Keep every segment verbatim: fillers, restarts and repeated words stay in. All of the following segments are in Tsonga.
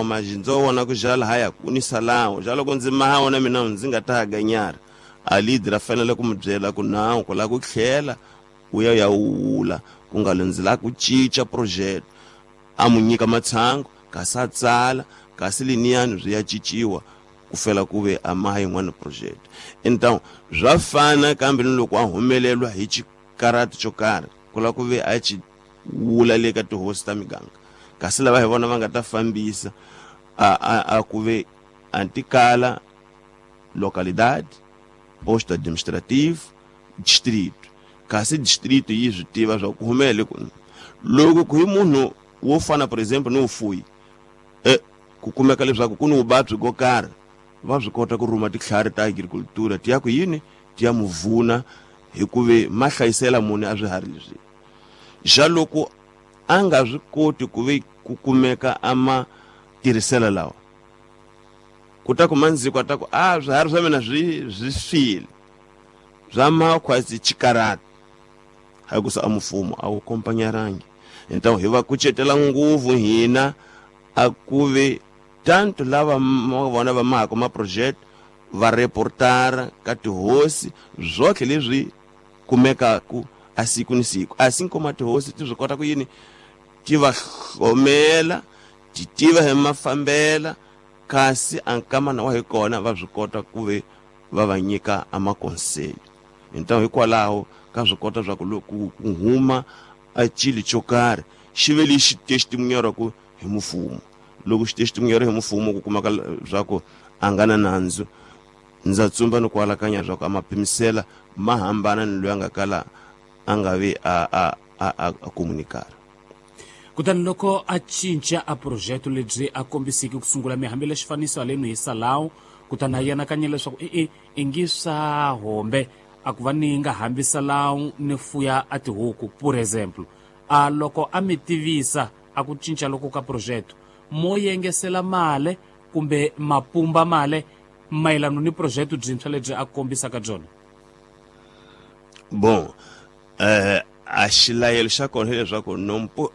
mawa ma ndzo vona ku jala haya ku ni salawo ja loko ndzi maha wona mina ndzi nga ta ganyara a leader a fanele ku mi byela ku nawu ku la ku tlhela u ya ya wula ku nga ndzi la ku cinca project a mu nyika matshango kasi a tsala kasi liniyani swi ya cinciwa ku fela ku ve a maha yin'wana project. Então swa fana kambe ni loko a humelelwa hi xikarati xo karhi ku la ku ve a ci wula le ka tihosi ta miganga kasi lava hi vona va nga ta fambisa a a a ku ve antikala localidade posto administrativo distrito kasi distrito yi swi tiva swa ku humele ku loko ku hi munhu wo fana por exemplo ni ufuyi eh ku kumeka leswaku ku ni vuvabyi ko karhi va swi kota ku rhuma titlhari ta agricultura ti ya ku yini ti ya muvuna hikuve ma hlayisela munhu a swiharhi leswi xa loko a nga swi koti ku ve ku kumeka a ma tirhisela lawa ku ta ku mandziko a ta ku a swiharhi swa mina swi swi file swa makhwasi chikarata hakusa a mfumo a wu kompanyarangi. Então hi va kucetela nguvu hina a ku ve tanto lava vona va mahako ma project va reportara ka tihosi zwotlhe leswi kumekaku a siku ni siku assim como a tihosi ti swi kota ku yini ti va hlomela ti tiva hi mafambela kasi a nkamana wa hi kona va swi kota ku ve va va nyika a makonseli. Então hikwalaho ka swi kota swa ku loko ku huma a chili xo karhi xi ve lexi testimunharaku hi mfumo loko xi testimunhara hi mfumo ku kumaka swa ku a nga na nandzu ndza tsumba ni ku alakanya swa ku a mapimisela ma hambana ni loyi a nga kala a nga vi a a a a komunikara. Kutani loko a cinca a projeto lebyi a kombisiki ku sungula mi hambile xifaniso halenu hi salawu kutani a yanakanya leswaku e-e i ngi swa hombe a ku va ni nga hambisa lawu ni fuya a tihuku por exemple a loko a mi tivisa a ku cinca loko ka projeto mo yengesela male kumbe mapumba male mayelano ni projeto byintshwa lebyi a kombisaka byona. Bon eh a xilayelo xa kona hileswaku nompo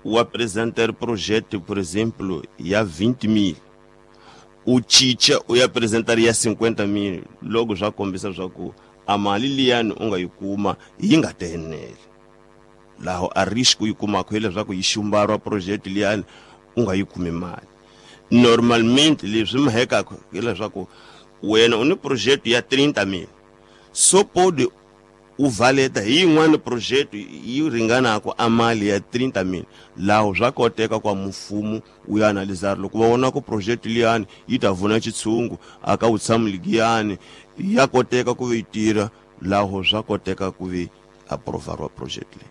u apresentar projeto por exemplo ya vinte mil u cinca u ya apresentar ya cinquenta mil loko swa kombisa swa ku a mali liyani u nga yi kuma yi nga tenele laho a risk u yi kumaka hileswaku yi xumbariwa project liyani u nga yi kumi mali. Normalmente leswi mahekaka hileswaku wena u ni project ya trinta mil so pode u valeta hi yin'wana project yi ringanaka a mali ya trinta mil laho swa koteka kwa mfumo wu ya analisar loko va vona ku project liyani yi ta vuna xitshungu a ka vutshamo ligiyani ya koteka ku yi tirha laho swa koteka ku vi aprovariwa project leyi.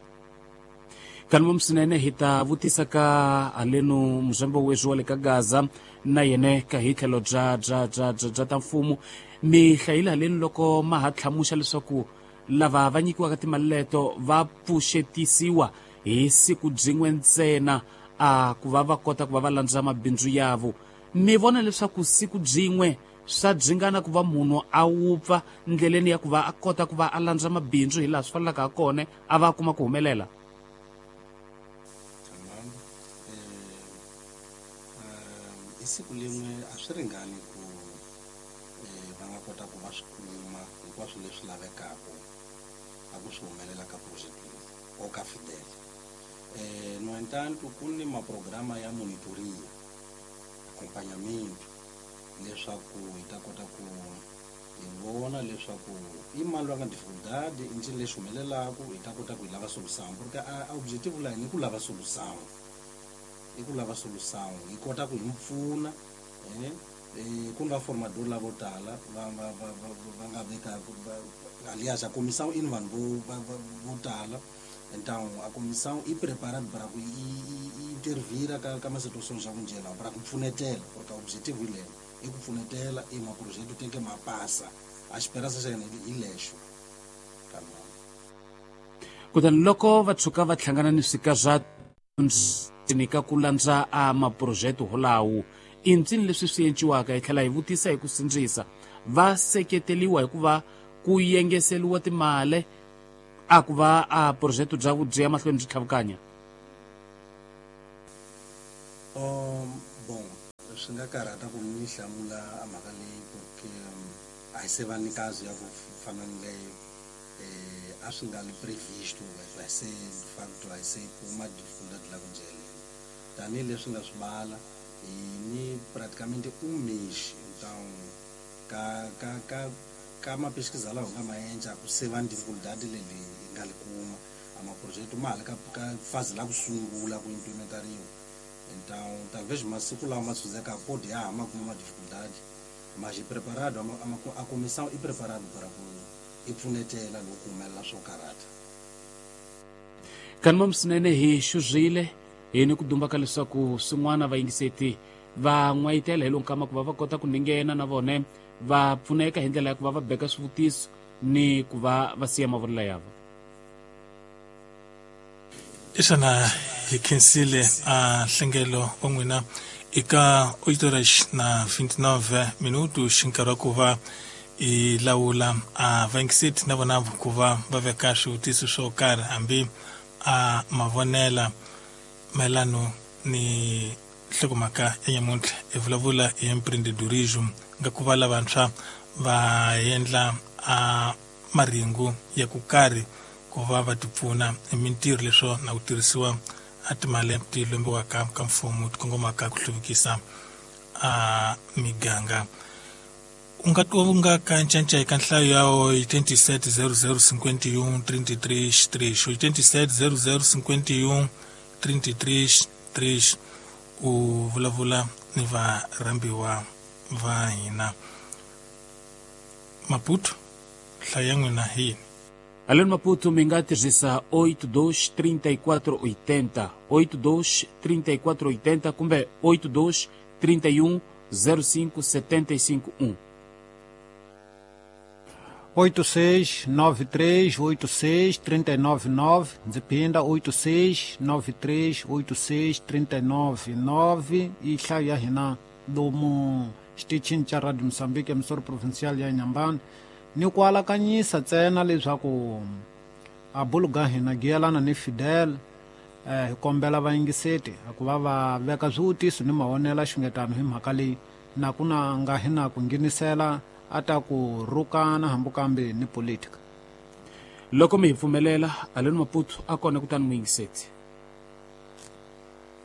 Kanuma msinene hi ta vutisa ka alenu muzambo weswi wa le ka Gaza na yene ka hi tlhelo bya bya bya bya ta mfumo mi hlayile haleni loko ma ha tlhamuxa leswaku lava va nyikiwaka timali leto va pfuxetisiwa hi siku byin'we ntsena a ku va va kota ku va va landza mabindzu yavo. Mi vona leswaku siku byin'we swa byingana ku va munhu a wupfa ndleleni ya ku va a kota ku va a landza mabindzu hi laha swi fanelaka ha kona a va kuma ku humelela? Hi siku lin'we a swi ringani ku va nga kota ku va swi kuma hinkwaswo leswi lavekaka a ku swi humelela ka project leyi o ka Fidel. Eh, no entanto ku ni maprograma ya monitoria accompagnamento leswaku hi ta kota ku hi vona leswaku i mali va nga dificuldade i ncini lexi humelelaku hi ta kota ku hi lava solução porque a objetivo la hina i ku lava solução i ku lava solução hi kota ku hi pfuna eh eh ku ni vaformador lavo tala va va va va nga veka aliás a comissão i ni vanhu vo vo tala então a comissão i preparada para ku i intervira ka ka masituações ya kunjela para ku pfunetela porque objetivo hi lelo i ku pfunetela i maprojeto tem que mapassa a esperança xa hina hi lexo. Kutani loko va tshuka va hlangana ni swika swa ni ka ku landza a maprojeto holawo i ncini leswi swi enciwaka hi tlhela hi vutisa hi ku sindzisa va seketeliwa hikuva ku yengeseliwa timali a ku va a projeto bya byi ya mahlweni byi tlhavukanya? Um, bom Swi nga karhata ku ni hlamula a mhaka leyi porque a hi se va ni kazi ya ku fana ni leyo eh a swi nga li previsto a hi se de facto a hi se kuma dificuldade la ku njeleni tanihileswi nga swi bala hi ni praticamente um mês então ka ka ka ka mapesquisa lawa hi nga ma endla ku se va ni dificuldade leyi hi nga li kuma a maprojeto ma ha le ka ka fase la ku sungula ku implementariwa então talvez masiku lawa ma tshundzeka pode ya ha ma kuma ma dificuldade mas i preparado a, a, a comissão i preparado para ku i pfunetela loko ku humelela swo karhata kanima swinene hi xuzile hi ni ku dumba ka leswaku swin'wana vayingiseti va n'wayitela hi lowu nkama ku va va kota ku ninghena na vone va pfuneka hi ndlela ya ku va va beka swivutiso ni ku va va siya mavonelo ya vona Isana hi khensile a nhlengelo wa n'wina eka oito horas na vinte e nove minutos nkarhi wa ku va i lawula a vayingiseti na vona ku va va veka swivutiso swo karhi hambi a mavonela mayelano ni nhlokomhaka ya nyamuntlha hi vulavula hi empreendedorismo nga ku va lavantshwa va endla a marhengu ya ku karhi ku va va tipfuna hi mintirho leswo na ku tirhisiwa a timali ti lombiwaka ka mfumo ti kongomaka ku hluvukisa a miganga u nga u nga ka ncanca eka nhlayo ya oitenta e sete zero zero cinquenta e um trinta e três três oitenta e sete zero zero cinquenta e um trinta e três três u vulavula ni varhambiwa va hina Maputo nhlayo ya n'wina hi yini Além Maputo mi nga tirhisa oito dois trinta e quatro oitenta oito dois trinta e quatro oitenta kumbe oito dois trinta e um zero cinco setenta e cinco um oito seis nove três oito seis três nove nove ndzi phinda oito seis nove três oito seis três nove nove i nhlayo ya hina lomu xitichini xa Radio Moçambique emisoro provincial ya Inhambane ni ku alakanyisa ntsena leswaku a buluga hina giyelana ni Fidel eh hi kombela vayingiseti ku va va veka swivutiso ni mavonelo xungetano hi mhaka leyi na ku na nga hi na ku nghenisela a ta ku rhukana hambi kambe ni politika loko mi hi pfumelela Aleni Maputo a kona kutani muyingiseti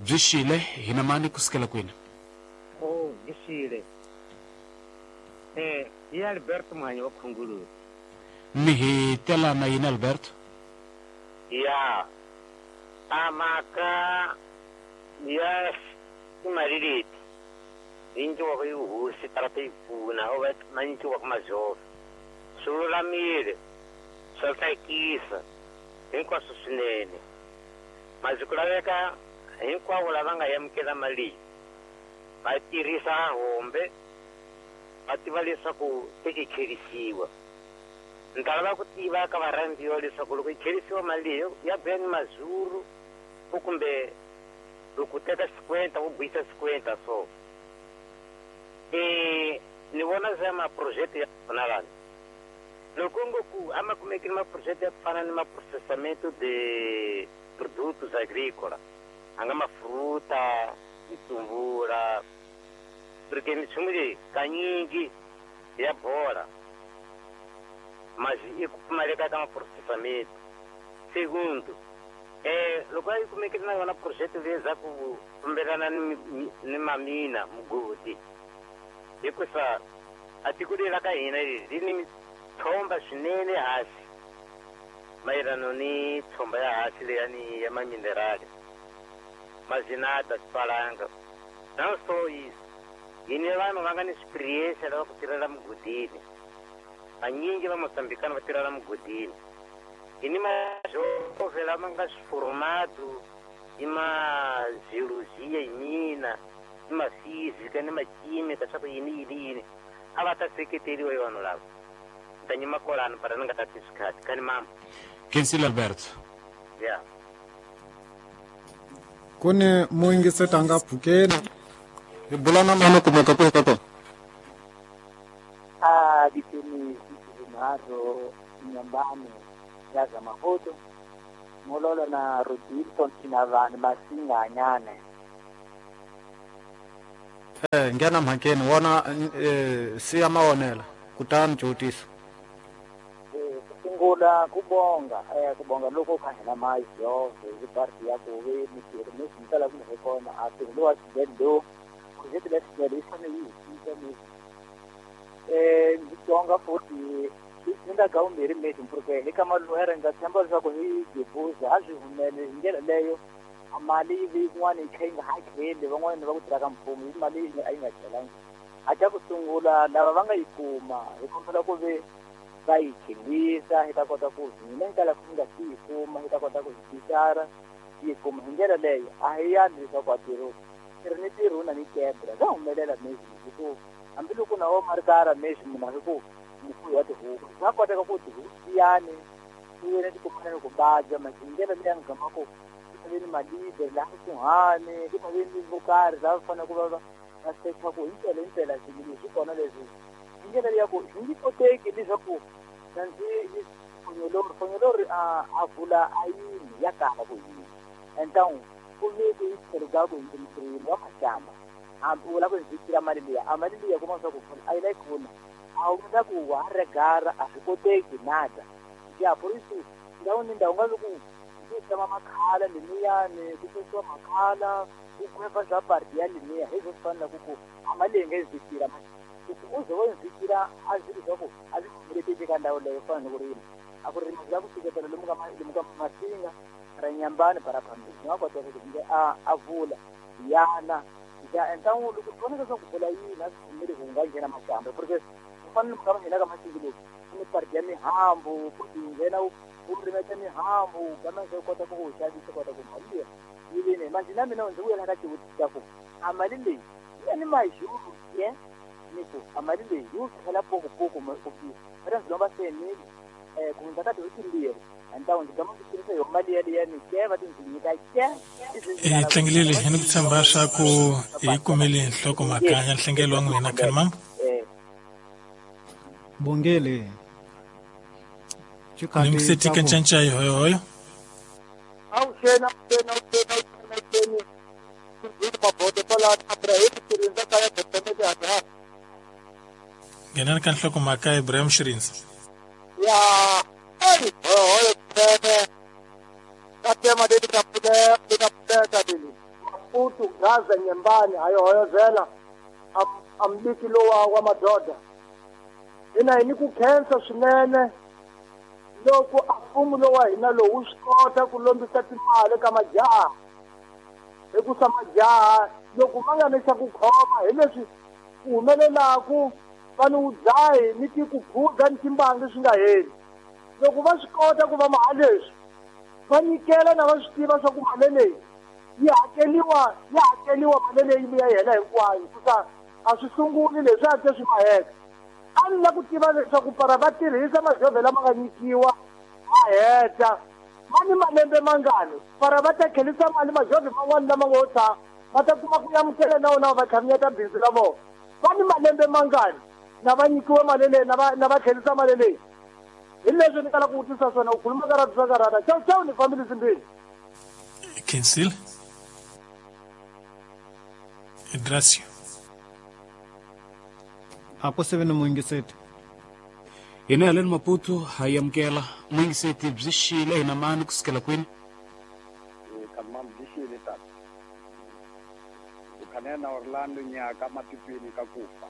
byi xile hina mani kusukela kwini oh byi xile eh hi Alberto Mhanyi wa Khunguluzi mi hi tela na yini Alberto ya a mhaka ya timali leti hi nyikiwaka hi hosi tala ta yi pfuna o va ma nyikiwaka mazhofa swi lulamile swa tsakisa hinkwaswo swinene masi ku laveka hinkwavo lava nga amukela mali leyi va tirhisa hombe va tiva leswaku se yi tlherisiwa ni ta lava ku tiva ka varhambiwa leswaku loko yi tlherisiwa mali leyi ya buya ni mazulu u kumbe loko u teka xikwenta u buyisa xikwenta so e ni vona za maproject ya fana lani loko ngo ku a ma kumekile maproject ya ku fana ni maprocessamento de produtos agrícola a nga mafruta mitumbula porque minchumu leyi kanyingi ya bola mas i ku pfumaleka ka maprocessamento segundo eh loko a yi kumekile na yona project leyi za ku fambelana ni, ni mamina mugodi hikusa a tiko leri ra ka hina leri ri ni mitshomba swinene hansi mayelano ni tshomba ya hansi leyani ya maminerali mazinata swipalanga não só isso hi ni vanhu va nga ni experiência lava ku tirhela mugodini vanyingi va Moçambicano va tirhela mugodini hi ni majove lama nga swiforomado hi ma-geologia hi mina ni ma-física ni ma-química swa ku yini yini yini a va ta seketeriwa hi vanhu lava ni ta nyima kwalano para ni nga tati swikhati kani mama Khensile Alberto ya ku ni muyingiseti a nga pfukeni hi bula na mani kumeka kwihi ka kona a ditemi zinharhu Inhambane ya Zamahoto mololo na Rodilton Tinavani Masinganyane Eh nghena mhakeni wona eh siya mawonela kutani jotisa. Eh sungula kubonga eh kubonga lokho kha hina majo hi parti ya ku ve mitirho mi swi ku hi kona a tirho wa xibedlo project la xibedlo yi fanele yi hisisa mi eh ndzi tonga futhi ndzi nga ka vumbirhi mesi porque eka maluhere nga tshemba leswaku hi gebuza a swi humele hi ndlela leyo a mali yi ve yin'wana yi kha yi nga hakeli van'wana va ku tirha ka mfumo yi mali a yi nga tlhelangi a xa ku sungula lava va nga yi kuma hi kombela ku ve va yi khelisa hi ta kota ku hina hi kala ku nga si yi kuma hi ta kota ku hi tixara yi kuma hi ndlela leyo a hi yali leswaku a tirho tirho ni tirho na ni kebra swa humelela mesi hi ku hambiloko na wo marikara mesi munhu a hi ku mufuyi wa tihuku swa koteka ku tihuku tiyani ti yena ti kumana ni ku badya masi hi ndlela leyi nga gama ku ku ve ni malide laha kusuhani ku ta ve ni vo karhi lava fanele ku va va va secha ku himpela himpela swilo leswi kona leswi hi ndlela leyi ya ku swi nge koteki leswaku na ndzi fonyolori fonyolori a a vula a yini ya kala ku yini entangu ku ve ku yi tlhelo ka ku hi wa mashamba hambi u lava ku ndzi tira mali liya a mali liya kuma swa ku a yi la yi khona a wu nga ku wa regara a swi koteki nada ya por isso ndhawu ni ndhawu nga ku ku tshama makhala lemiyani ku susiwa makhala ku khwefa swa parti ya lemiya hi swo fana ku ku a mali leyi nga yi zikira ku u ze wo yi zikira a swi leswaku a swi pfumelekeki ka ndhawu leyo fana ni ku rima a ku rima swi ku fiketela lomu ka lomu ka masinga ra nyambani para phambili swi nga koteka ku nge a a vula yana ya entangu loko swi vonaka swa ku vula yini a swi pfumeli ku nga nghena maxamba porque ku fana ni ka nghena ka masinga loku ku ni parti ya mihambu ku ti nghena u rimeta mihambu kambe swi kota ku ku xavisa kota ku mali liya yi vini manje na mina ndzi vuyela ka xivutiso ku a mali leyi yi ni majuru ye ni ku a mali leyi yi tlhela pokopoku ku va ta ndzi lomba senile um ku hundza ka tin'hweti timbirhi entangu ndzi gama ndzi tirhisa yo mali yaliya ni ke va ti ndzi nyika ke hi tlangelile hi ni ku tshemba swa ku hi kumile nhlokomhaka ya nhlengelo wa n'wina khalimambo bongele ni msetika ncanca hoyohoyo awuxena awuxena awuxena awuxena nghenani ka nhlokomhaka Ibrahim Shirinzi ya ai hoyohoyo swinene ka tema leti nga pfuleka ti nga pfuleka leli Maputo Gaza Nyembani hayohoyozela ambiki lowa wa madoda hina hi ni ku khensa swinene loko a mfumo lowa hina lowu swi kota ku lombisa timali ka majaha hikusa majaha loko ma nga ni xa ku khoma hi leswi ku humelelaku va ni wudzahi ni ti ku khuda ni timbangi swi nga heli loko va swi kota ku va maha leswi va nyikela na va swi tiva swa ku mali leyi yi hakeliwa yi hakeliwa mali leyi vuya yi hela hinkwayo hikusa a swi sunguli leswi a swi maheka a ni la ku tiva leswaku para va tirhisa majovhe lama nga nyikiwa ma heta ma ni malembe mangani para va ta tlherisa mali majovhe man'wani lama ngo tshama va ta kuma ku amukela na wona va tlhamiyeta bindzu ra vona va ni malembe mangani na va nyikiwe mali leyi na va na va tlherisa mali leyi hi leswi ni kala ku vutisa swona u khuluma ka ratu swa karata chau chau ni fambile simbili Kinsil Idrasio a ku sivi ni muyingiseti hina haleni Maputo ha yi amukela muyingiseti byi xile hina mani kusukela kwini kamam byi xile tata ukhanena Orlando nyaka matitweni ka kufa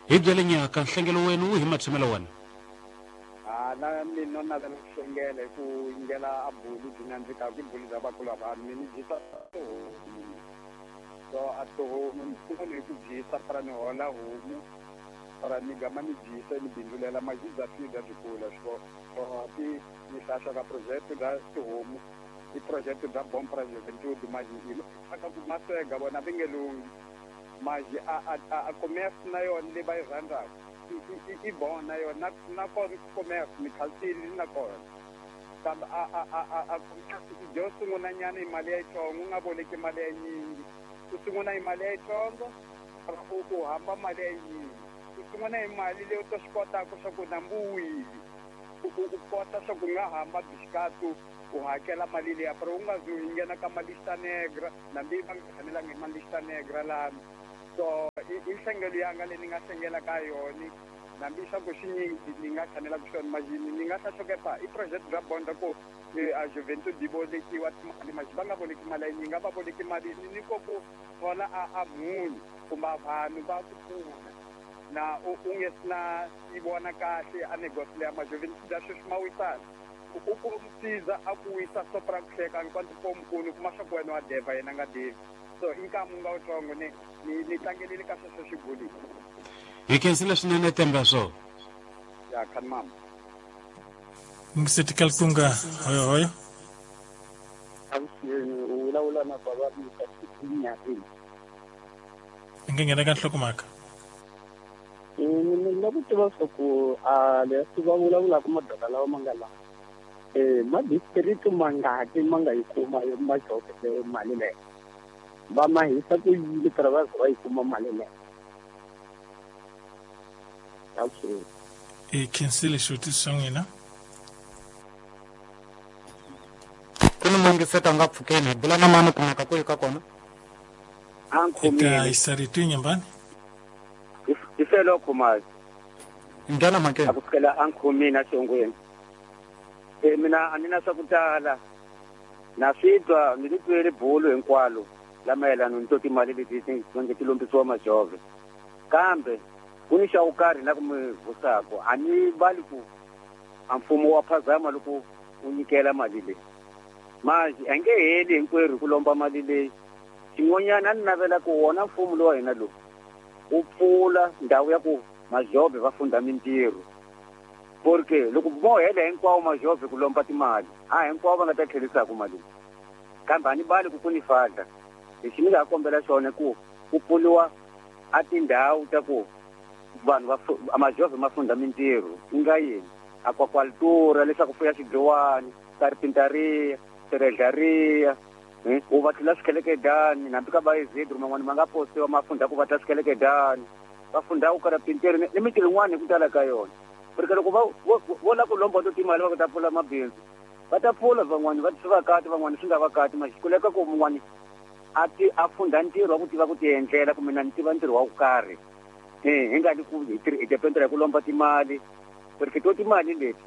hi byele nyaka nhlengelo wenu wu hi matshamelo wena a na mina navela ku hlengela hi ku yingela a bulu byi nandzikaka i bulu bya vakulu vanhu mi ni dyisa tihomu so a tihomu ni sungula hi ku dyisa para ni hola homu para ni gama ni dyisa ni bindzulela masi bya fida byi kula swo so ti ni hlahla ka project bya tihomu i project bya bom pra juventude masi hi aka ku masega vona va nge lunghi masi a a a commerce na yona leyi va yi rhandzaka i bon na yona na kona commerce mi khalsile na kona kambe a a a a a commerce i dyo sungula nyana hi mali ya yitsongo u nga boleki mali ya yinyingi u sungula hi mali ya yitsongo u u hamba mali ya yinyingi u sungula hi mali leyi u ta swi kotaka swa ku nambu wili u u kota swa ku nga hamba bixikatu u hakela mali liya pero u nga zi u nghena ka malista negra nambi va nga fanelangi hi malista negra lani So i nhlengelo yanga leyi ni nga hlengela ka yona nambi swa ku xinyingi ni nga tshamela ku xona majini ni nga hlahlokepa i project bya bonda ku a juventud yi volekiwa timali maji va nga voleki mali ya yinyingi a va voleki mali ni ko ku thola a a munhu kumbe vanhu va ku pfuna na u u nge sina yi vona kahle a negosi leya majuventud ya sweswi ma wisana u ku msiza a ku wisa sopra ku hleka nkwanta pomukulu kuma swa ku wena wa deva yena nga devi so i nkamu nga wutsongo ni ni ni tlangelile ka sweswo xibulile hi khensile swinene temba swo ya khan mama ngiseti kalkunga hoyo hoyo avuxeni u vulavula na baba Mika Xinyareni nge nghena ka nhlokomhaka ni lava ku tiva swa ku a leswi va vulavulaka madoka lawa ma nga laha eh ma district mangaki ma nga yi kuma majoke mali leyi va ma hisa ku yini para va va yi kuma mali leyi avuxeni i khensile xivutiso xa n'wina ku ni mungiseta nga pfukeni hi bula na mani kumeka ku yi ka kona eka isarito nyambani ifelo khumazi nghena mhakeni a ku fikela a nkhumini a xongweni e mina a ni na swa ku tala na swi twa ni ri twele bulu hinkwalo la mayelana ni to timali leti ti ti lombisiwa majove kambe ku ni xa wo karhi la ku mi vusako a ni vali ku a mfumo wa phazama loko u nyikela mali leyi manje a nge heli hinkwerhu ku lomba mali leyi xin'wanyana a ni navela ku wona mfumo lowa hina lowu u pfula ndhawu ya ku majobe va funda mintirho porque loko mo hela hinkwawo majobe ku lomba timali a hinkwavo va nga ta tlherisaka mali kambe a ni bali ku ku ni fadla lexi ni nga kombela xona ku ku pfuriwa a tindhawu ta ku vanhu va majove ma funda mintirho ku nga yini aquacultura leswaku fuya xidlowani carpintaria serejariya u va tlula swikhelekedani hambi ka vaezedru man'wani ma nga postiwa ma funda ku va tla swikhelekedani va funda ku carpinteri ni mintirho yin'wana hi ku tala ka yona porque loko va vo lava ku lomba to timali va ku ta pfula mabindzu va ta pfula van'wani va swi va kati van'wani swi nga va kati ma xikuleka ku mun'wani a ti a funda ntirho wa ku tiva ku ti endlela kumbe na ni tiva ntirho wa ku karhi eh hi nga ni ku hi hi dependera hi ku lomba timali porque to timali leti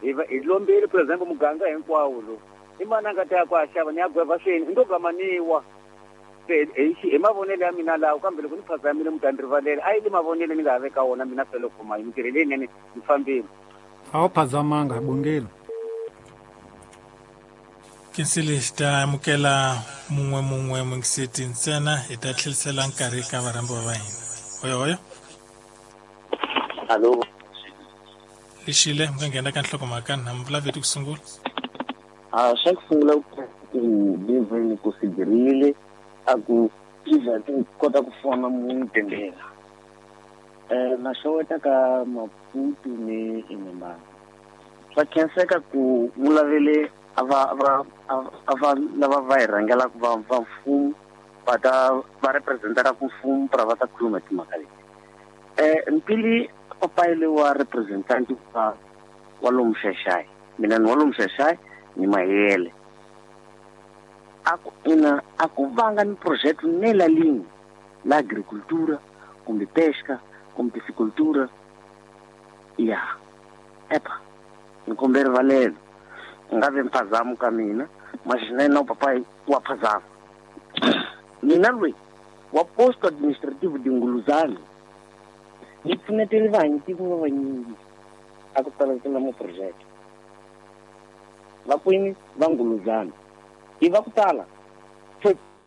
hi va hi lombile for example muganga hinkwawo lowu i mani a nga ta ya ku a xava ni ya gweva swini i ndo gamaniwa se hi hi mavonelo ya mina lawo kambe loko ni phazamile mi ta ni rivalela a yi le mavonelo ni nga ha veka wona mina felo khoma hi mintirho leyinene ni fambile a wu phazamanga hi bongile Kinsile xi ta amukela mun'we mun'we mungiseti ntsena hi ta tlherisela nkarhi ka varhambiwa va hina hoyo hoyo alo lexile mi nga nghena ka nhlokomhaka na mi vulaveti ku sungula a xa ku sungula ku liveni ku sigirile a ku iza ti kota ku fona munhu tendela eh na xeweta ka Maputo ni Inhambane swa khenseka ku vulavele ava ava ava lava va hi rhangelaka va va mfumo va ta va representaka mfumo para va ta khuluma timhaka leti eh mpili papayile wa representant wa wa lomu Xaxai mina ni wa lomu Xaxai ni Mahele a ku ina a ku vanga ni project nela linye la agricultura kumbe pesca kumbe piscicultura ya epa ni kombela rivalelo nga ve mphazamo ka mina maxinene na papai wa phazama mina lweyi wa posto administrativo de Nguluzana ni pfunetele vanyiki va vanyingi a ku tala tala mo project va kwini va Nguluzana i va ku tala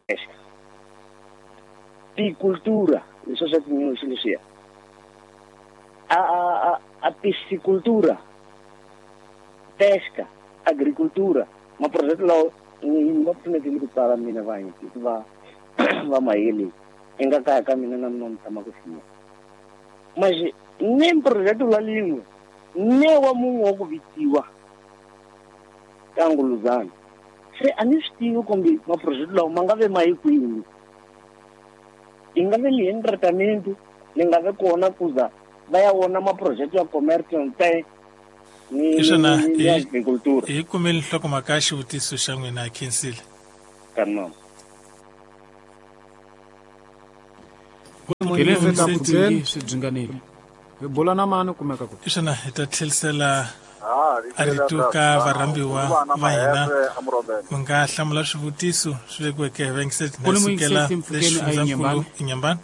pesca piscicultura leswi swa tinyoxi leswiya a a a piscicultura pesca agricultura ma project lawo ni va pfunetile ku tala mina vanyiki va va Mahele i nga kaya ka mina na mina ni tshama ku siya manje ne project la lin'we ne wa mun'we wa ku vitiwa ka Nguluzana se a ni swi tivi kumbe maproject lawa ma nga ve ma yi kwini i nga ve ni tratamento ni nga ve kona kuza va ya wona maproject ya commercial te ni Xana ni agricultura hi kumele nhlokomhaka ya xivutiso xa n'wina khensile ka mama Swi byi hi bula na mani kumeka ku xana hi ta tlhelisela a rito ka varhambiwa va hina mi nga hlamula swivutiso swi vekiweke hi vayingiseri na sukela lexifundzankulu Inhambane.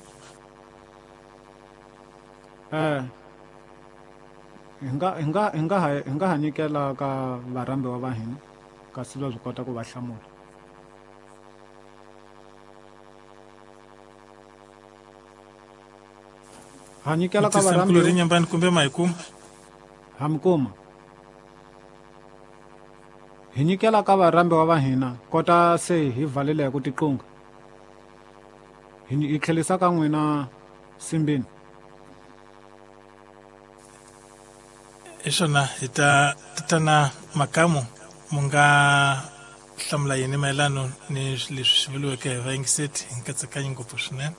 Eh hi nga hi nga hi nga hi nga ha nyikela ka varhambiwa va hina kasi va swi kota ku va hlamula. Ha nyikela ka varhambiwa Inhambane kumbe ma hi kuma ha mi kuma hi nyikela ka varhambiwa va hina kota se hi valele hi ku tiqunga hi tlhelisa ka n'wina Simbini. Xona hi ta tatana Makamu mu nga hlamula yini mayelano ni leswi swi vuriweke hi vayingiseti hi nkatsakanyo ngopfu swinene.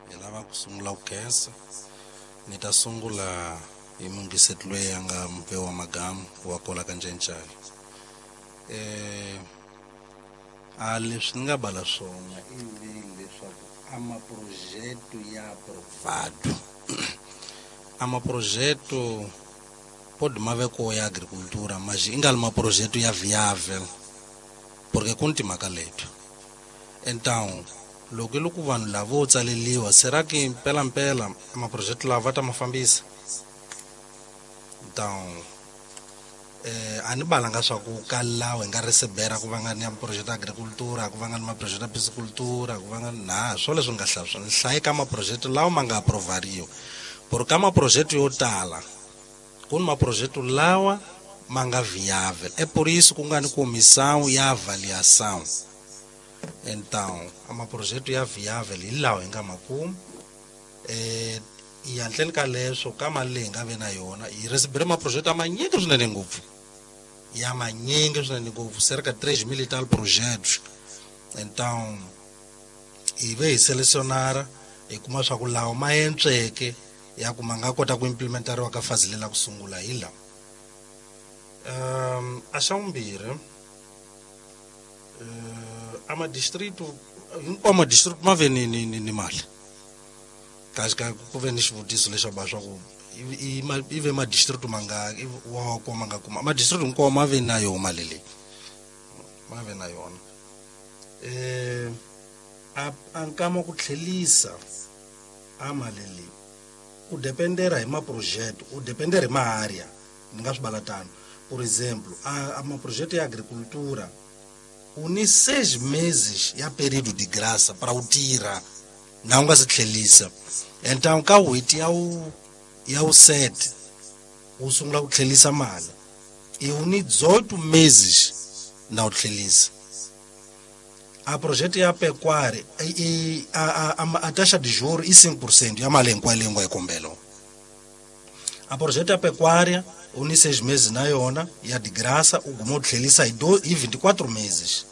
Hi lava ku sungula ku khensa ni ta sungula hi muyingiseti loyi a nga Mpewa Magamu wa kwala ka Ncencane. Eh a leswi ni nga bala swona i leswaku a maprojeto ya aprovado a maprojeto pode maveko ya agricultura mas inga li maprojeto ya viável porque ku ni timhaka leto. Então loko loko vanhu lavo tsaleliwa será que mpela mpela maprojeto lava ta ma fambisa? Então eh a ni balanga swa ku ka lawa hi nga recebera ku va nga ni ya projeto agricultura ku va nga ni maprojeto ya piscicultura ku va nga na swo leswi nga hlaya swona hlaye ka maprojeto lawa ma nga aprovariwa por ka maprojeto yo tala ku ni maprojeto lawa ma nga viável é por isso ku nga ni comissão ya avaliação. Então a maprojeto ya viável hi lawa hi nga ma kuma eh hi handleni ka leswo ka mali leyi hi nga ve na yona hi recebere maprojeto ya manyingi swinene ngopfu ya manyingi swinene ngopfu cerca de três mil e tal projetos. Então hi ve hi selecionara hi kuma swa ku lawa ma entsweke ya ku ma nga kota ku implementariwa ka fazi lela ku sungula hi lawa. Um a xa vumbirhi uh, a madistrito hinkwawo madistrito ma ve ni ni ni, ni mali kasi ka ku ve ni xivutiso lexo ba swa ku i ve madistrito ma nga wa ko ma nga kuma madistrito hinkwawo ma ve na yona mali leyi ma ve na yona. Eh a a nkama ku tlhelisa a mali leyi u dependera hi maprojeto u dependera hi maarea ni nga swi bala tano. Por exemplo a, a maprojeto ya agricultura u ni seis meses ya período de graça para u tirha na u nga si tlhelisa. Então ka n'hweti ya wu ya wu sete u sungula ku tlhelisa mali i u ni dezoito meses na u tlhelisa. A projeto ya pecuária i a a a taxa de juros i cinco por cento ya mali hinkwayo leyi nga yi kombela. A projeto ya pecuária u ni seis meses na yona ya de graça u guma u tlhelisa hi hi vinte e quatro meses.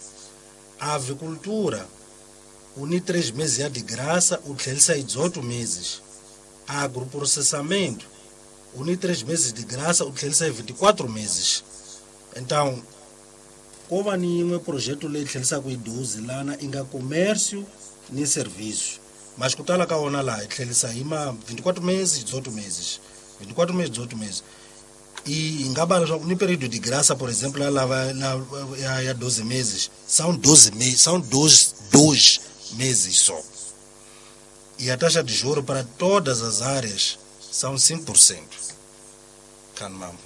A avicultura u ni três meses ya de graça u tlhelisa hi dezoito meses. A agroprocessamento u ni três meses de graça u tlhelisa hi vinte e quatro meses. Então ko va ni yin'we projeto leyi tlhelisaka hi doze lana i nga comércio ni serviço mas ku tala ka wona laha hi tlhelisa hi ma vinte e quatro meses dezoito meses vinte e quatro meses dezoito meses. E nga bala leswaku ni período de graça por exemplo ya lava ya, ya doze meses são doze meses são dois dois meses só. E a taxa de juro para todas as áreas são cinco por cento. Kanmambo.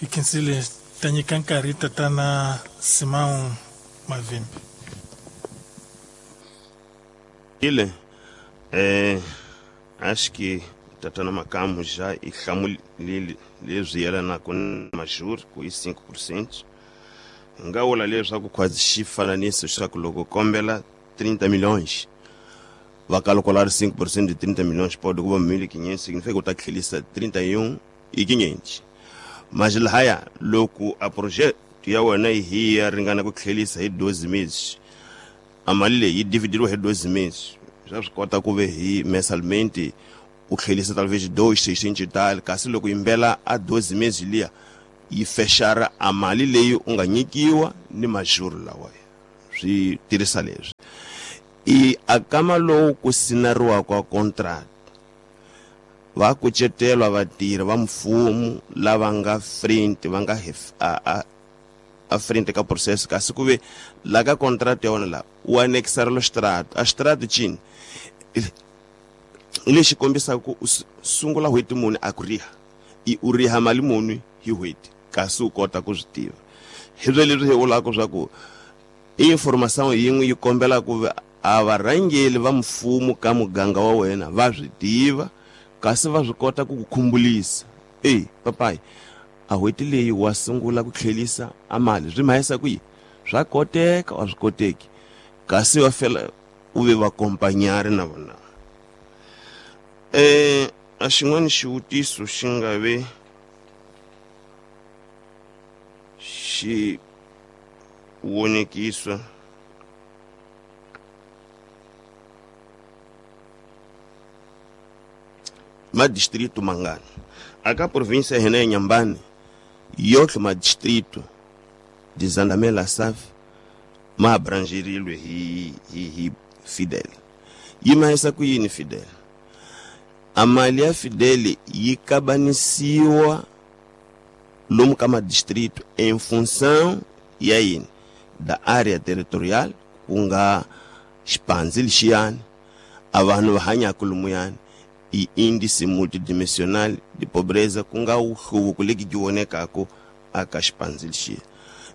Hi khensile ta nyika nkarhi tatana Simão Mavimbi. Ile eh acho que tatana Makamu já e hlamulile leswi yelanaka na majuro ku i cinco por cento. Nga vula leswaku khwazi xifananiso xa ku loko kombela trinta milhões va calcular cinco por cento de trinta milhões pode kuva mil e quinhentos significa que u ta tlhelisa trinta e um e quinhentos. Mas lahaya loko a projeto ya wena hi ya ringana ku tlhelisa hi doze meses a mali leyi yi dividiriwa hi doze meses swa swi kota ku ve hi mensalmente u tlhelisa talvez dois seiscentos e tal kasi loko yimbela a doze meses liya yi fexara a mali leyi u nga nyikiwa ni majuro lawa swi tirhisa leswi. I akama lowu ku sinariwa kwa contract va kucetelwa vatirhi va mfumo lava nga frente va nga a a a frente ka processo kasi ku ve la ka contract ya wona la u anexar lo extrato a extrato cini lexi kombisaka ku u sungula n'hweti muni a ku riha i u riha mali muni hi n'hweti kasi u kota ku swi tiva hi byo leswi hi vulaka swa ku information yin'we yi kombela ku a varhangeli va mfumo ka muganga wa wena va swi tiva kasi va swi kota ku ku khumbulisa e papayi a n'hweti leyi wa sungula ku tlhelisa a mali swi mahisa ku yi swa koteka a swi koteki kasi va fela u ve vakompanyari na vona. Eh a xin'wana xivutiso xi nga ve xi vonekiswa madistrito mangani aka província hina ya Inhambane yotlhe madistrito de Zandamela Save ma abrangerilwe hi hi hi Fidel. Yi mahisa ku yini Fidel? A mali ya Fidel yi kabanisiwa lomu ka madistrito em função ya yini da área territorial ku nga xipandzi lexiyani a vanhu va hanyaka lomuyani i índice multidimensional de pobreza ku nga wuhluvuko leki ki vonekaka aka xipandzi lexiya.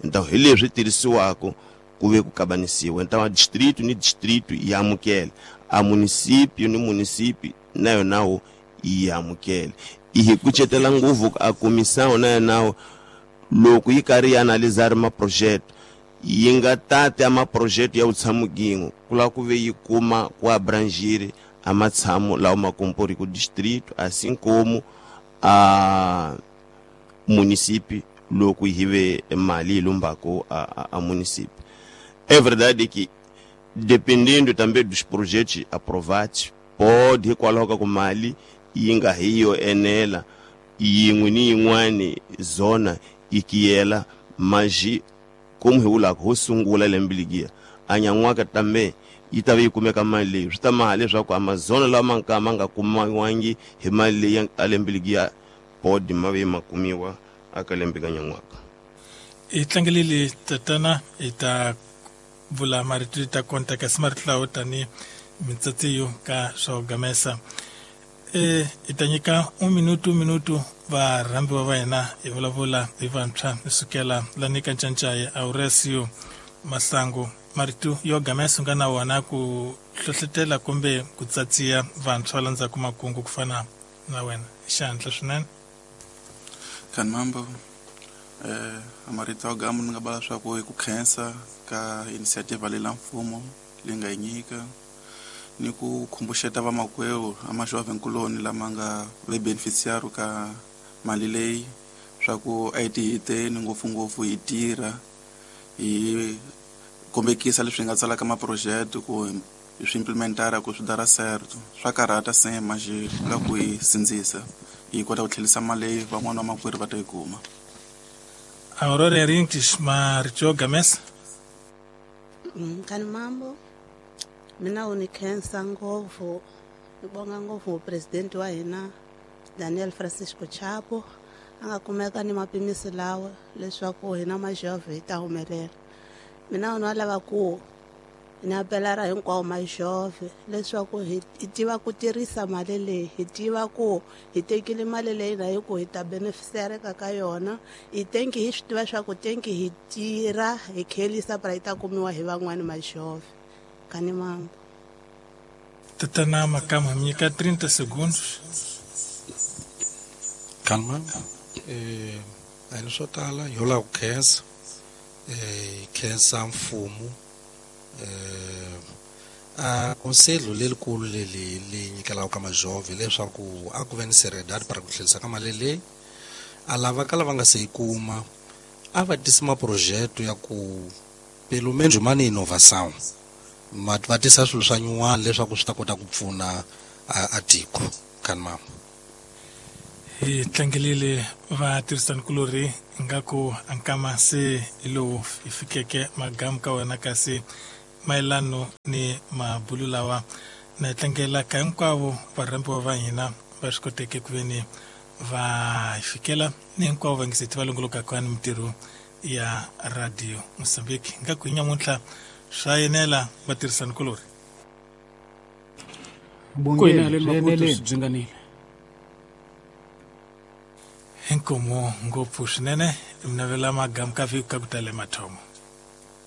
Então hi leswi tirhisiwaka ku ve ku kabanisiwa. Então a distrito ni distrito yi amukela, a município ni município na yona wo yi amukela. I hi kucetela ngopfu a comissão na yona loko yi karhi yi analisar maprojeto yi nga tati a maprojeto ya vutshamo ku lava ku ve yi kuma ku abrangir a matshamo lawa ma compor ku distrito assim como a município loko hi ve mali yi lombako a, a, a município. É verdade que dependendo também dos projetos aprovados pode hikwalaho ka ku mali yi nga hi yo enela yin'we ni yin'wani zona yi kiyela maji como hi vulaka ho sungula lembe legiya a nyan'waka tambe yi ta va yi kumeka mali leyi swi ta maha leswaku amazona lawa ma nga ma nga kumiwangi hi mali leyi a lembe legiya podi ma ve ma kumiwa aka lembe ka nyan'waka. Hi tlangelile tatana hi ta vula marito ta konta kasi marito lawo tani mintsatsiyo ka swa gamesa. E hi ta nyika un minuto minuto varhambiwa va hina hi vulavula hi vantshwa hi sukela lani ka Ncancai Aurelio Masango marito yo gamesa nga na wona ku hlohletela kumbe ku tsatsiya vantshwa landzaka makungu ku fana na wena xandla swinene. Kan mambo eh marito gamu ni nga bala swa ku ku khensa ka initiative leyi la mfumo leyi nga yi nyika ni ku khumbuxeta vamakwerhu a majovhenkuloni lama nga ve beneficiário ka mali leyi swa ku a hi tihiteni ngopfungopfu hi tirha hi kombekisa leswi hi nga tsalaka maproject ku hi swi implementara ku swi dara certo swa karhata se manje la ku hi sindzisa hi kota ku tlhelisa mali leyi van'wana vamakwerhu va ta yi kuma. Aurora Rintis marito yo gamesa. Kani mambo mina u ni khensa ngopfu ni bonga ngopfu president wa hina Daniel Francisco Chapo a nga kumeka ni mapimisi lawa leswaku hina majove hi ta humelela. Mina u na lava ku ni apelara hinkwawo majove leswaku hi tiva ku tirhisa mali leyi hi tiva ku hi tekile mali leyi na hi ku hi ta beneficiareka ka yona hi tenki hi swi tiva swa ku tenki hi tirha hi khelisa para yi ta kumiwa hi van'wani majove. Kani mambo. Tatana Makama nyika trinta segundos. Kalma eh a ni swo tala yo lava ku khensa eh khensa mfumo eh a conselho lelikulu leli li nyikelaka ka majove leswaku a ku ve ni seriedade para ku tlhelisa ka mali leyi a lava ka lava nga se yi kuma a va tisi maprojeto ya ku pelo menos ma ni inovação ma va tisa swilo swa nyuwana leswaku swi ta kota ku pfuna a tiko. Kan mama hi tlangelile vatirhisanikulorhi ingaku ankama se hi lowu hi fikeke magamu ka wena kasi mayelano ni mabulu lawa na tlangela ka hinkwavo varhambiwa va hina va swi koteke ku veni va fikela ni hinkwavo vangiseti va longolokaka ni mintirho ya Radio Mozambique nga ku nyamuntlha swa yenela vatirhisani kulori bongile byi inkomo ngopfu swinene mi navela magamu ka vhiki ka ku tala mathomo.